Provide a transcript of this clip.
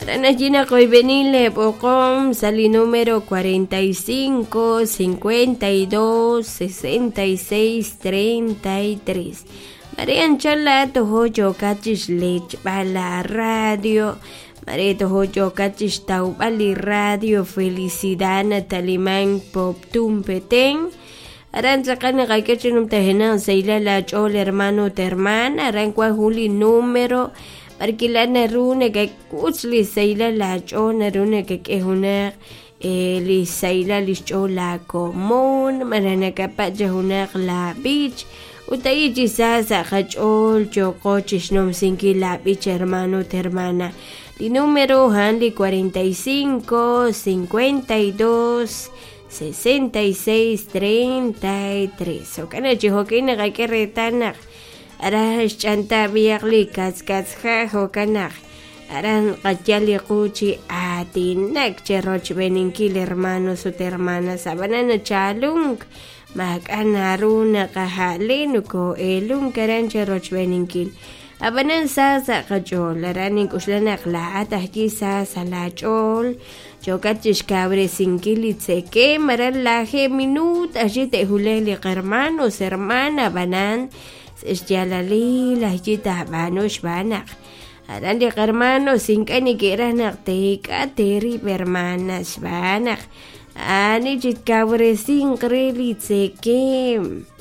Aran allí naqoyb'eni leeb'oqom sa' li número 45 52 66 33. Mare anchal laa'at tojo yookat chixlechb'al la radio, mare tojo yookat chixtawb'al li radio Felicidad nataliman Poptún Petén. Aran tz'aqal naqak'e chi numtajenaq sahilal laach'ool hermano ut hermana, aran wan jun li número b'arwi' laa'at naru nakak'utz li sahilal laach'ool, naru nakak'e junaq li xsahilal li xch'ool laakomon malaj nakapatz' cha junaq laab'ich ut ahi' chi sa sa' qach'ool yooqo chixnumsinkil laab'ich hermano ut hermana. Li número a'an li 45 52 66 33. Jo'kan naq chi jo'kin naqak'e reetal naq aran xch'anta b'ihaq li katzkatzja' jo'kan naq aran qayal li qu chi aatinak che rochb'eeninkil hermanos ut hermanas ab'anan nachaalunk maak'a' naru naqaja'le nokoo'eelunk aran che rochb'eeninkil ab'anan sa sa' qach'ool aran nink'oxla naq laa'at ajwi' sa sa' laach'ool Yookat chixkawresinkil li tzekemq aran lajeeb' minuut ajwi' te'wulaq li qahermanos hermana ab'anan sa' xyaalalil ajwi' taab'aanu xb'aan naq aran li qahermanos ink'a' neke'raj naq teek'at eerib' hermanas xb'aan naq ani chi tkawresinq re li tzekemq.